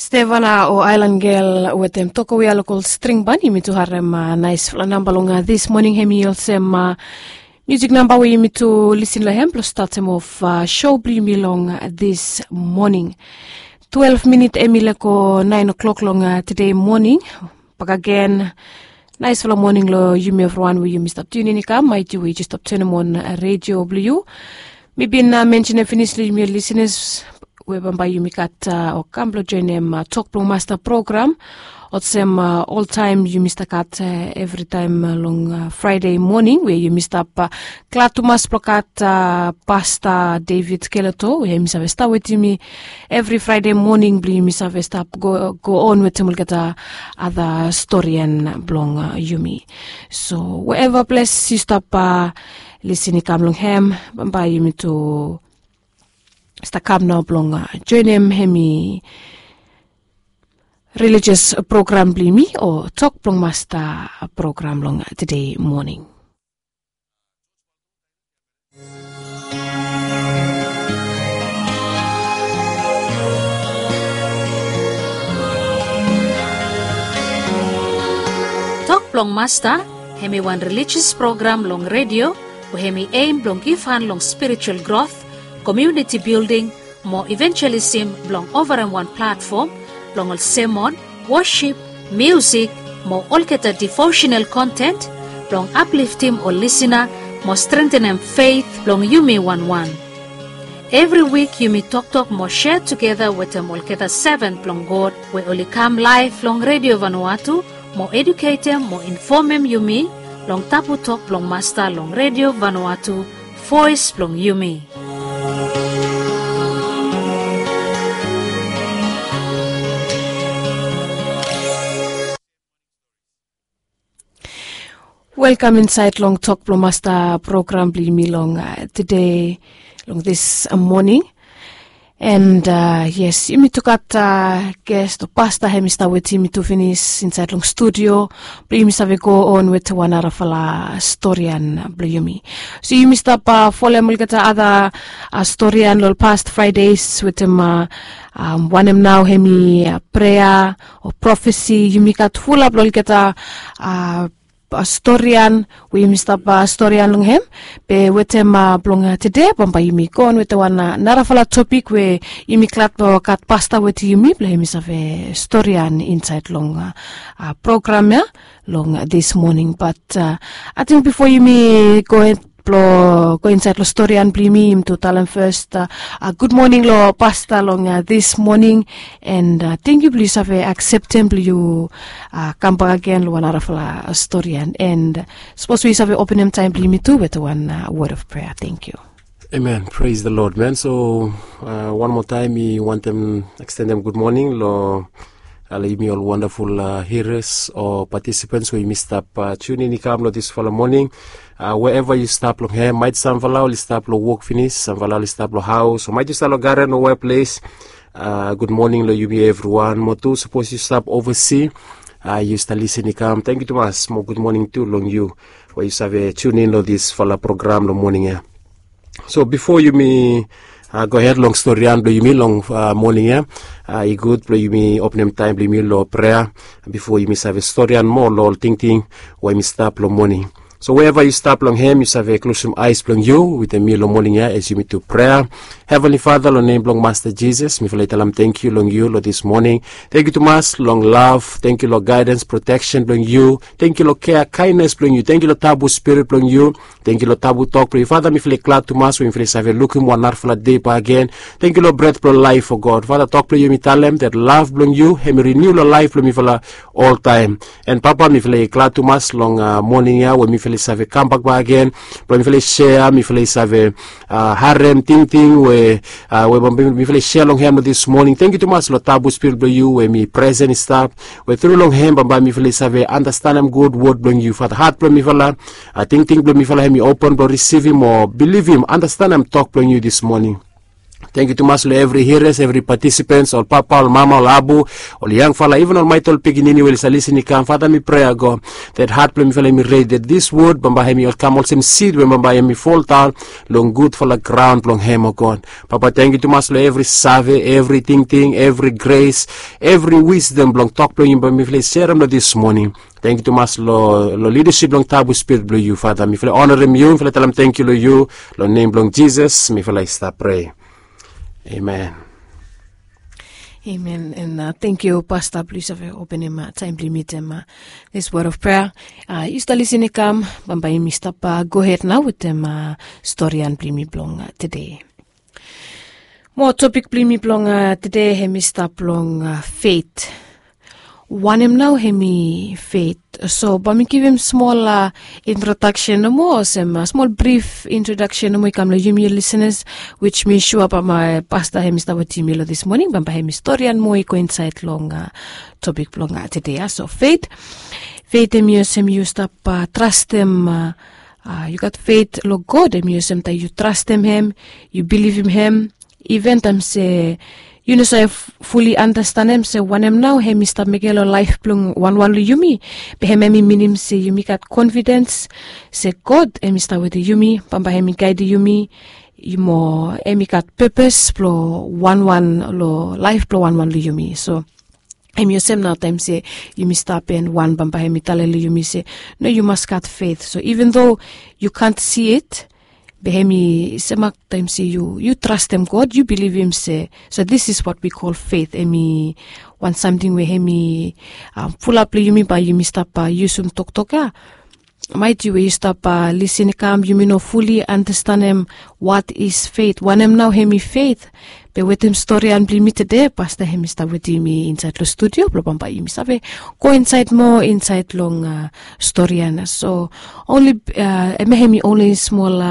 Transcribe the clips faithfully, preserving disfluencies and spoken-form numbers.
Stevana o Ailan Gel wetem toka we i lokol string ban, yumi tu harem naispela namba long dis moning. Hem i olsem musik namba we yumi tu lisin long hem blong statem of show blong yumi long dis moning. Twelve minit hem i leko nain o'clock long tede moning. Bakagen, naispela moning long yumi evriwan we yumi stap tunin i kam maiti we yu stap tunim on redio blong yu. Mi bin mensenim finis long yumi lisenas we bambae yumi gat o kam blong joinim tok blong masta program olsem oltaem yumi stap gat evritaem long Fraede moning we yumi stap glad tumas blong gat Pasta David Keleto we hem i save stap wetem yumi evri Fraede moning blong yumi save stap go on wetem olgeta ada storian blong yumi. So wherever ples yu stap lisin i kam long hem, bambae yumi tu stap kam nao blong joinim hem i religious program blong yumi o tok blong masta program long tede moning. Tok blong Masta, hem i wan religious program long redio we hem i aim blong givhan long spiritual growth, community building, mo evangelism blong ovarem wan platfom blong ol semon, wosip, miusik, mo olgeta devotional kontent blong apliftim ol lisina mo strentenem feit blong yumi wanwan. Evri wik yumi toktok mo sea tugeta wetem olgeta seven blong God we oli kam laef long redio Vanuatu mo eduketem mo infomem yumi long tabu tok blong Masta long redio Vanuatu, voes blong yumi. Welkam insaed long tok blong Masta program blong yumi long tede, long dis moning. And yes, yumi tu gat ges o pasta hem i stap wetem yumi tu finis insaed long studio blong yumi save go on wetem wan narafala storian blong yumi. So yumi stap folem olgeta ada storian long ol past Fraedes wetem wanem nao hem i prea o profesi, yumi gat fulap long olgeta storian we yumi stap storian long hem. Be wetem blong tede bambae yumi go on wetem wan narafala topik we yumi glad blong gat pasta wetem yumi blong hem i save storian insaed long program ya long dis moning. Bat ating bifo yumi go blong go insaed long storian blong yumi, yumi tu talem fes gud moning long pasta long dis moning. And tangkiu blong yu save akseptem blong yu kambak agen long wan narafala storian. And sapos we yu save openem taem blong yumi tu wetem wan wod of prea. Tangkiu. Amen. Praise the Lord, man. So wan moa taem mi wantem ekstendem gud moning long yumi ol wandaful hiras o patisipants we yumi stap tunin i kam long disfala moning. Wherever yu stap long hem, maet samfala oli stap long wok finis, samfala oli stap long haos, o maet yu stap long garen o weples. Gud moning long yumi evriwan. Mo tu sapos yu stap ovasi, yu stap lisin i kam, tangkiu tumas. Mo gud moning tu long yu we yu save tunin long disfala program long moning ya. So bifo yumi gohed long storian blong yumi long moning ya, i gud blong yumi openem taem blong yumi long prea bifo yumi save storian moa long ol tingting we yumi stap long moning. So wherever yu stap long hem, yu save klosem aes blong yu wetem mi long moning ya as yumi tu prea. Heavenly Father, long nem blong Masta Jisas, mifala i talem tangkiu long yu long dis moning. Tangkiu tumas long lav, tangkiu long gaedans, proteksen blong yu, tangkiu long kea, kaenes blong yu, tangkiu long tabu spirit blong yu, tangkiu long tabu tok blong yu. Father, mifala i glad tumas we mifala i save lukim wan narafala dei bakegen. Tangkiu long bret blong laef, o God. Father, tok blong yu hem i talem dat lav blong yu hem i riniu long laef blong mifala oltaem. And Papa, mifala i glad tumas long moning ya we mifala i save kambak bakegen blong mifala i sea, mifala i save harem tingting we we mifala i sea long hem long dis moning. Tangkiu tumas long tabu spirit blong yu we hem i presen i stap, we tru long hem bambae mifala i save andastanem gud wod blong yu. Father, hat blong mifala, tingting blong mifala hem i open blong risivim o bilivim, andastanem tok blong yu dis moning. Tangkiu tumas long evri hiras, evri patisipens, ol papa, ol mama, ol abu, ol yangfala, iven ol maet ol pikinini we oli save lisin i kam. Fata, mi prea, God, that hat blong mifala i mi redi, that this word bambae hem i ol kam olsem sid we bambae hem i foldaon long gudfala graon blong hem, o God. Papa, tangkiu tumas long evri save, evri tingting, evri gres, evri wisdom blong tok blong yu bambae mifala i serem long this moning. Tangkiu tumas long lidasip blong tabu spirit blong yu, Fata. Mifala i onarem yu, mifala i talem tangkiu long yu. Long nem blong Jisas mifala i stap prea. Amen. Amen. And tangkiu, Pasta, blong yu save openem taem blong yumi wetem this word of prayer. Yu stap lisin i kam, bambae yumi stap gohed nao wetem storian blong yumi blong tede. Mo topik blong yumi blong tede hem i stap long fet. Wanem nao hem i fet? So bae mi givim smol introdaksen nomo, olsem smol brif introdaksen nomo i kam long yumi lisenas, which mi sua bambae Pasta hem i stap wetem yumi long this moning, bambae hem i storian moa i go insaed long topik blong tede ya. So fet, fet hem i olsem yu stap trastem, yu gat fet long God, hem i olsem taem yu trastem hem, yu bilivim hem, iven taem se yu no save fuli andastanem se wanem nao hem i stap mekem long laef blong wanwan long yumi. Be hem hem i minim se yumi gat konfidens se God hem i stap wetem yumi, bambae hem i gaedem yumi, mo hem i gat pepes blong wanwan long laef blong wanwan long yumi. So hem i olsem nao taem se yumi stap en wan, bambae hem i talem long yumi se, no, yu mas gat fet. So even though you can't see it, be hem i semak taem se yu trastem God, yu bilivim se. So this is what we call fet. Hem i wan samting we hem i pulap long yumi bae yumi stap yusum toktok ya. Maet yu we yu stap lisin i kam, yumi no fuli andastanem what is fet, wanem nao hem i fet. Be wetem storian blong yumi tede, Pasta hem i stap wetem yumi insaed long studio blong bambae yumi save go insaed moa insaed long storian. So only, hemia hem i onli smol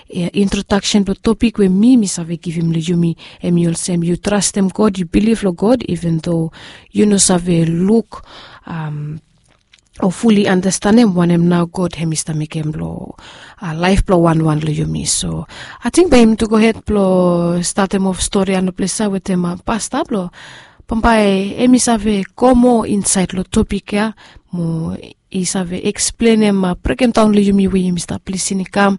introdaksen blong topik we mi mi save givim long yumi. Hem i olsem yu trastem God, yu bilif long God, iven though yu no save luk o fuli andastanem wanem nao God hem i stap mekem long laef blong wanwan long yumi. So ating bae yumi tu gohed blong statem of storian long ples ya wetem Pasta blong bambae hem i save go moa insaed long topik ya, mo i save eksplenem, brokemdaon long yumi we yumi stap lisin i kam,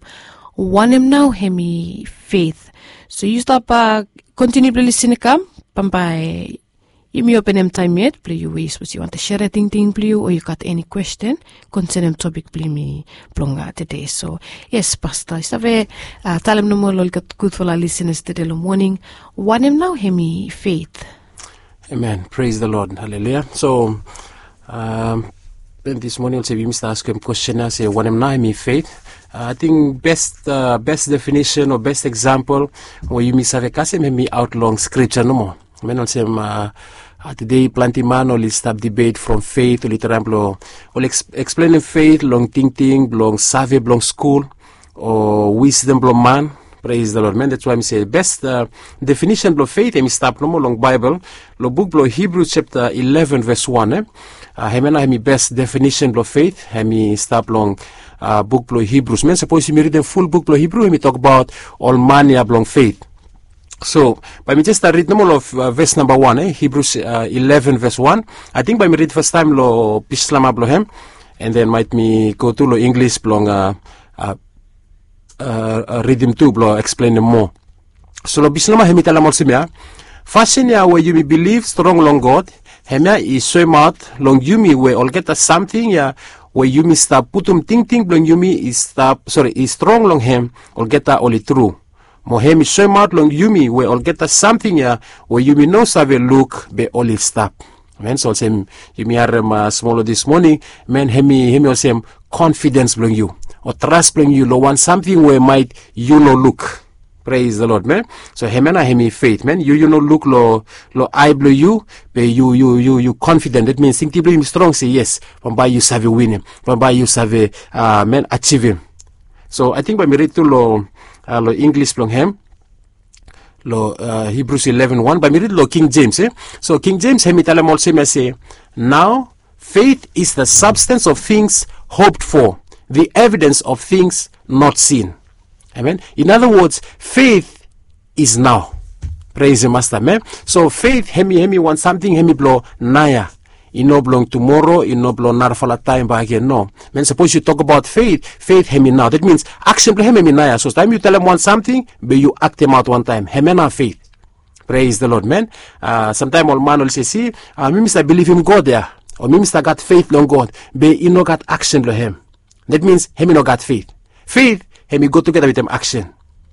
wanem nao hem i fet. So yu stap kontiniu blong lisin i kam, bambae yumi openem taem yet blong yu we sapos yu wantem serem tingting blong yu o yu gat eni kwesten konsenem topik blong yumi blong tede. So yes, Pasta, yu save talem nomo long olgeta gudfala lisenas tede long moning, wanem nao hem i fet? Amen. Praise the Lord. Haleluya. So, um, then this morning olsem yumi stap askem kwesten ya se wanem nao hem i fet. Ating bes, bes definisen o bes eksampol we yumi save kasem hem i aot long skripsa nomo. Hem i olsem, tede plante man oli stap dibet from fet, oli traem blong oli eksplenem fet long tingting blong save blong skul o wisdom blong man. Praise the Lord, man. That's why mi se bes definisen blong fet hem i stap nomo long Baebol, long buk blong Hibrus japta eleven ves wan. Hemia nao hem i bes definisen blong fet hem i stap long buk blong Hibrus. Man, sapos yumi ridim ful buk blong Hibrus hem i tokbaot ol man ya blong fet. So bae mi jes stap rid nomo long ves namba wan, Hibrus eleven ves wan. Ating bae mi rid fastaem long Bislama blong hem, and then maet mi go tu long Inglis blong ridim tu blong eksplenem moa. So long Bislama hem i talem olsem ya, fasin ya we yumi bilif strong long God, hemia i soemaot long yumi we olgeta samting ya we yumi stap putum tingting blong yumi i stap, sore, i strong long hem, olgeta oli tru. Mo hem i soemaot long yumi we olgeta samting ya we yumi no save luk be oli stap. Amen. So olsem yumi harem smol long this moning, man, hem i olsem konfidens blong yu o tras blong yu long wan samting we maet yu no luk. Praise the Lord, man. So hemia nao hem i fet, man. Yu yu no luk long ae blong yu, be yu yu yu konfiden. That means tingting blong yu hem i strong se yes, bambae yu save winim, bambae yu save, man, ajivim. So ating bae mi rid tu long Inglis blong hem, long Hibrus eleven wan, bae mi rid long King Jems. So King Jems hem i talem olsem ya se, now faith is the substance of things hoped for, the evidence of things not seen. Amen. In other words, faith is now. Pres masta men. So feit hemi hemi wan samting hemi blong naoia. I no blong tumoro, i no blong narafala taem bakegen, no. Men sapos yu tokbaot feit, feit hemi nao, dat mins aksen blong hem hemi naoia. So taem yu talem wan samting be yu aktemaot wantaem, hemia nao feit. Pres de lod men. Samtaem ol man oli se, si, mi mi save bilivim god ya, o mi mi save gat feit long god, be i no gat aksen blong hem. Dat mins hem i no gat feit. Feit hem i go tugeta wetem aksen.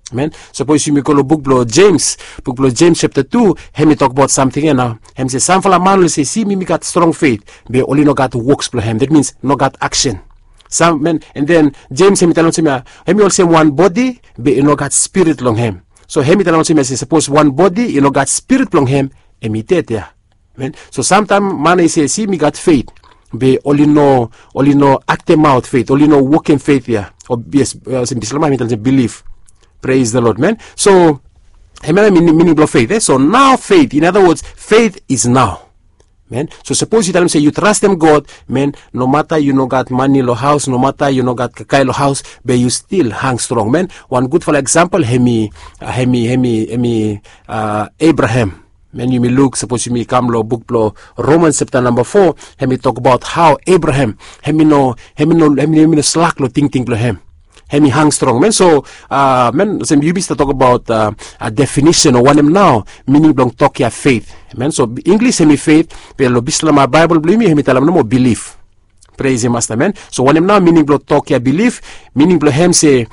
Amen. Sapos yumi go long buk blong jems, buk blong jems japta tu, hem i tokbaot samting ya nao. Hem se samfala man oli se, si, mi mi gat strong feit, be oli no gat woks blong hem, dat mins no gat aksen. Sam men, an den jems hem i talem olsem ya, hem i olsem wan bodi, be i no gat spirit long hem. So hem i talem olsem ya se sapos wan bodi i no gat spirit blong hem, hem i ded ya. Amen. So samtaem man i se, si, mi gat feit, be oli no, oli no aktemaot feit, oli no wokem feit ya. O yes, olsem bislama hem i talem olsem bilif. Pres de lod men. So hemia nao mining blong feit, e? So nao feit, in other words, feit is nao. Men, so sapos yu talem se yu trastem god, men, nomata yu no gat mane long haos, nomata yu no gat kakae long haos, be yu stil hang strong men. Wan gudfala eksampol hem i, hem i, hem i, hem i, abraham. Men yumi luk, sapos yumi kam long buk blong romans japta namba fo, hem i tokbaot hao abraham hem i no, hem i no, hem i no slak long tingting blong hem. Hem i hang strong men. So men, olsem yumi stap tokbaot definisen o wanem nao mining blong tok ya feit. Men, so inglis hem i feit, be long bislama baebol blong yumi hem i talem nomo bilif. Pres ya masta men. So wanem nao mining blong tok ya bilif? Mining blong hem se,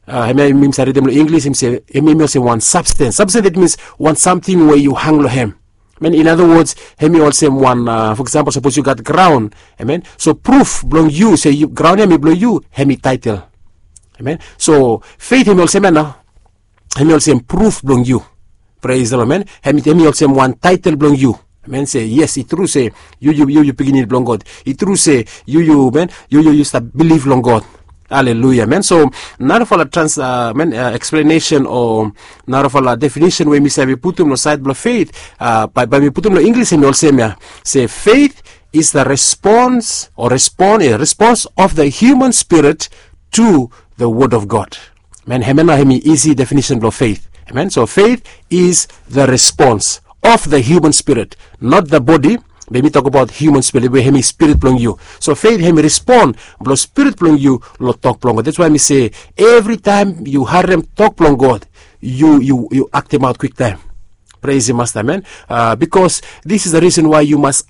hemia mi save ridim long inglis, hem i olsem wan sabstens. Sabstens, dat mins wan samting we yu hang long hem. Men, in other words, hem i olsem wan, fo eksampol sapos yu gat graon, amen, so pruf blong yu se graon ya hem i blong yu, hem i taetel. Amen. So feit hem i olsem ya nao, hem i olsem pruf blong yu. Pres de lod men. Hem i olsem wan taetel blong yu. Amen. Se yes, i tru se yu yu yu pikinini blong god. I tru se yu yu men, yu yu yu stap bilif long god. Aleluya men. So narafala trans men, eksplenesen o narafala definisen we mi save putum long saed blong feit, bae mi putum long inglis hem i olsem ya. Se feit is the response o respon, respons of the human spirit to the word of god. Men, hemia nao hem i isi definisen blong feit. Amen. So feit is the response of the human spirit, not the bodi. Be mi tokbaot human spirit we hem i spirit blong yu. So feit hem i respon blong spirit blong yu long tok blong god. Dats wae mi se, evritaem yu harem tok blong god, yu yu yu aktemaot kwiktaem. Pres ya masta men. Bikos this is the reason wae yu mas